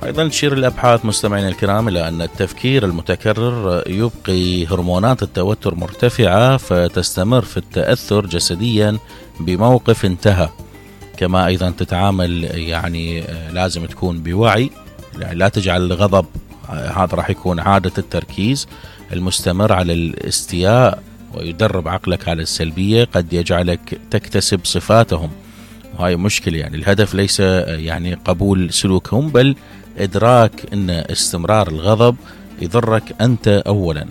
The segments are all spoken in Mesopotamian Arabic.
أيضا تشير الأبحاث مستمعينا الكرام إلى أن التفكير المتكرر يبقي هرمونات التوتر مرتفعة، فتستمر في التأثر جسديا بموقف انتهى. كما أيضا تتعامل يعني لازم تكون بوعي، يعني لا تجعل الغضب هذا راح يكون عادة التركيز المستمر على الاستياء ويدرب عقلك على السلبية، قد يجعلك تكتسب صفاتهم، وهاي مشكلة. يعني الهدف ليس يعني قبول سلوكهم، بل إدراك أن استمرار الغضب يضرك أنت أولا.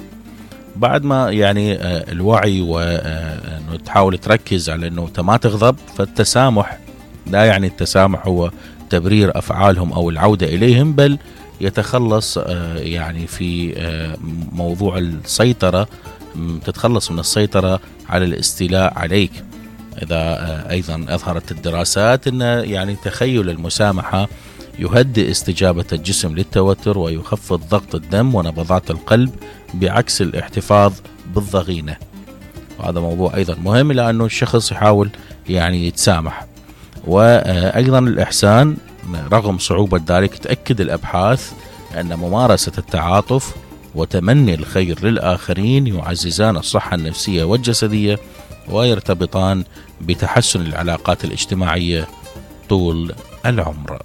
بعد ما يعني الوعي وأنه تحاول تركز على أنه ما تغضب، فالتسامح لا يعني التسامح هو تبرير أفعالهم أو العودة إليهم، بل يتخلص يعني في موضوع السيطرة، تتخلص من السيطرة على الاستيلاء عليك. إذا أيضا أظهرت الدراسات أن يعني تخيل المسامحة يهدئ استجابة الجسم للتوتر ويخفض ضغط الدم ونبضات القلب، بعكس الاحتفاظ بالضغينة. وهذا موضوع أيضا مهم، لأنه الشخص يحاول يعني يتسامح. وأيضا الإحسان رغم صعوبة ذلك، تأكد الأبحاث أن ممارسة التعاطف وتمني الخير للآخرين يعززان الصحة النفسية والجسدية، ويرتبطان بتحسن العلاقات الاجتماعية طول العمر.